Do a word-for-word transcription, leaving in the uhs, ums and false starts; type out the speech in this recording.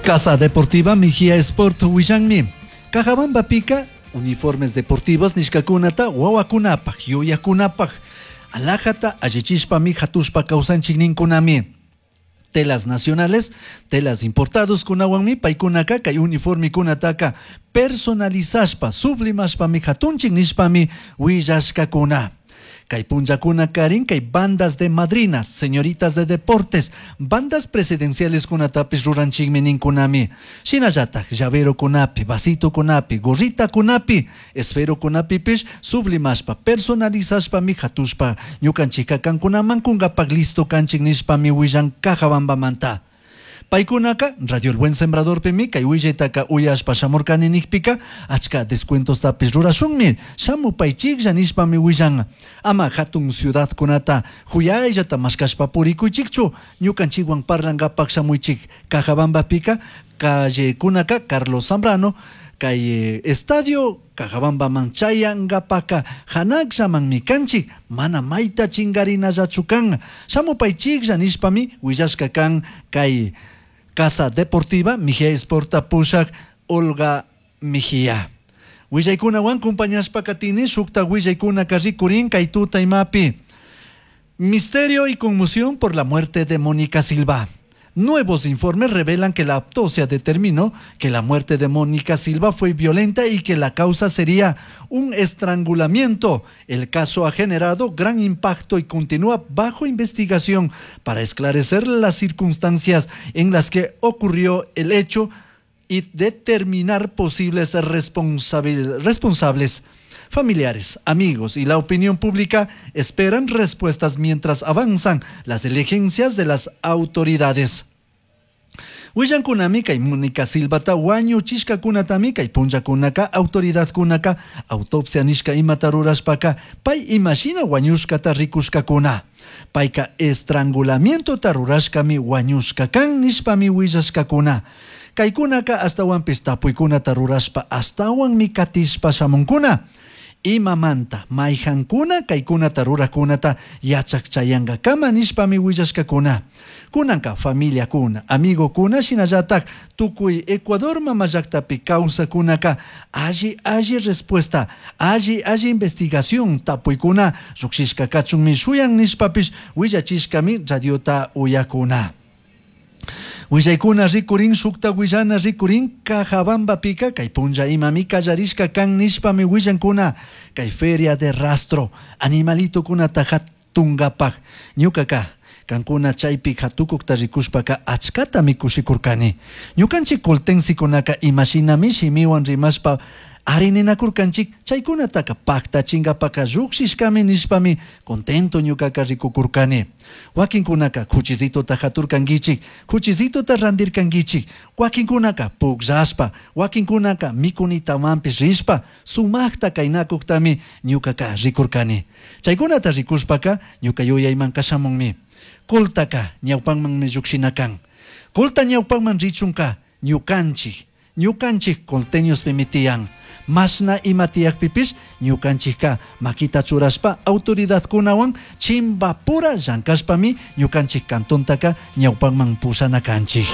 Casa Deportiva Mejía Sport willanmi. Cajabambapika uniformes deportivos nishkakunata wawakunapaj, yuyakunapaj alhajata allichishpami hatushpa kawsanchik ninkunami. Telas nacionales, telas importados kunawanmi paykunaka kay uniformikunataka personalizashpa, sublimashpami hatunchik nishpami willashkakuna. Kay punllakuna karin kay bandas de madrinas, señoritas de deportes, bandas presidenciales kunatapis ruranchikmi ninkunami. Shinallatak llavero kunapi, vasito kunapi, gorrita kunapi, esfero kunapipish sublimashpa, personalizashpami hatushpa ñukanchikka kankunaman kunkapak listo kanchik nishpami willan Cajabambamanta. Paykunaka Radio El Buen Sembradorpimi kay willaytaka uyashpa shamurkani nikpika achka descuentostapis rurashunmi shamupaychiklla nishpami willan. Ama hatun ciudadkunata huyayllata mashkashpa purikuychikchu ñukanchikwan parlankapak shamuychik. Cajabambapika callekunaka Carlos Zambrano kay estadio Cajabambaman chayankapaka hanakllamanmi kanchik mana mayta chingarinallachu kan shamupaychiklla nishpami willashka kan kay Casa Deportiva Mejía Sporta pushak Olga Mejía. Willaykunawan compañashpa katini shukta willaykunaka rikurin kay tuta imapi. Misterio y conmoción por la muerte de Mónica Silva. Nuevos informes revelan que la autopsia determinó que la muerte de Mónica Silva fue violenta y que la causa sería un estrangulamiento. El caso ha generado gran impacto y continúa bajo investigación para esclarecer las circunstancias en las que ocurrió el hecho y determinar posibles responsabil-, responsables. Familiares, amigos y la opinión pública esperan respuestas mientras avanzan las diligencias de las autoridades. Willankunami kay Mónica Silvata wañuchishkakunatami kay punllakunaka autoridadkunaka autopsia nishka imata rurashpaka pay imashina wañushkata rikushkakuna. Payka estrangulamientota rurashkami wañushka kan nishpami willashkakuna. Kaykunaka ashtawanpish tapuykunata rurashpa ashtawanmi katishpa shamunkuna. Imamanta mayhankuna kaykunata rurakunata yachak chayankakama nishpami willashkakuna. Kunanka familiakuna, amigokuna shinallatak tukuy Ecuador mama llaktapi kawsakunaka alli alli respuesta, alli alli investigación tapuykuna llukshishka kachunmi shuyan nishpapish willachishkami radiota uyakuna. Willaykuna rikurin shukta willana rikurin Cajabambapika kay punlla imami kallarishka kan nishpami willankuna kay feria de rastro animalitokunata hatunkapak ñukaka kankuna chaypi hatukukta rikushpaka achkatami kushikurkani ñukanchik coltensikunaka imashinami shimiwan rimashpa arininakurkanchik chaykunataka paktachingapaka llukshishkami nishpami contento ñukaka rikukurkani. Wakinkunaka kuchisitota haturkankichik, kuchisitota randirkankichik, wakinkunaka pukllashpa, wakinkunaka mikunitamanpish rishpa, sumakta kaynakuktami ñukaka rikurkani. Chaykunata rikushpaka ñuka yuyaymanka shamunmi. Coltaka ñawpanmanmi llukshina kan. Colta ñawpanman richunka ñukanchik, ñukanchik colteñospimi tiyan. Mashna ima tiyakpipish ñukanchikka makita churashpa autoridadkunawan chimbapura llankashpami ñukanchik cantontaka ñawpanman pushana kanchik.